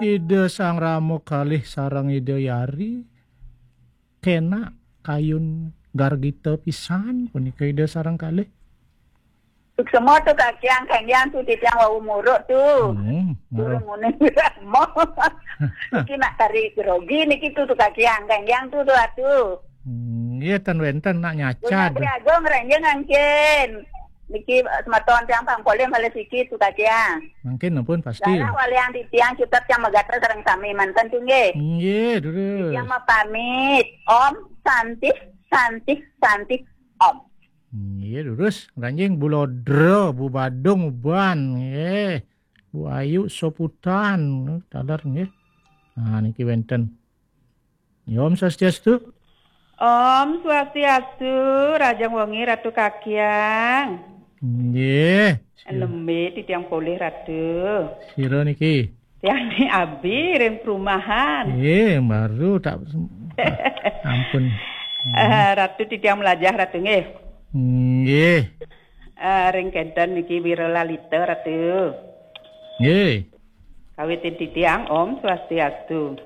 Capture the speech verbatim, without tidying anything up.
Ida Sang Rama kalih sareng Ida Yari kena kayun gargita pisan punika Ida sareng kalih. Suksema tu kakiang kenggiang tu titiang wau muruk tu. Hmm, Turun muruk. Ngunung Rama. Niki nak tarik grogi niki tu tu kakiang kenggiang tu tu atu. Hmm, iya tan wenten nak Punya nyacad. Tri Agung renjeng angkin. Niki eh, semeton tiang pang polih malih siki tu kakiang. Mungkin pun pasti. Darah waliang titiang cutet tiang megatra sareng sami manten tu nggih. Nggih, durus. Tiang mapamit. Om Santih Santih Santih Om. Nggih, durus. Ranjing Bulodra, Bu Badung, Uban, nggih. Bu Ayu Soputan, taler nggih. Nah, niki wenten. Ya, Om Swastiastu. Om Swastiastu, Rajang Wengi Ratu Kakiang. Nggih. Lembe titiang polih Ratu. Sira niki. Tiang ni abi ring perumahan. Nggih, baru tak ampun. Eh, Ratu titiang melajah Ratu nggih. Nggih. Eh, ring kenten niki Wira Lalita Ratu. Nggih. Kawitin titiang Om Swastiastu.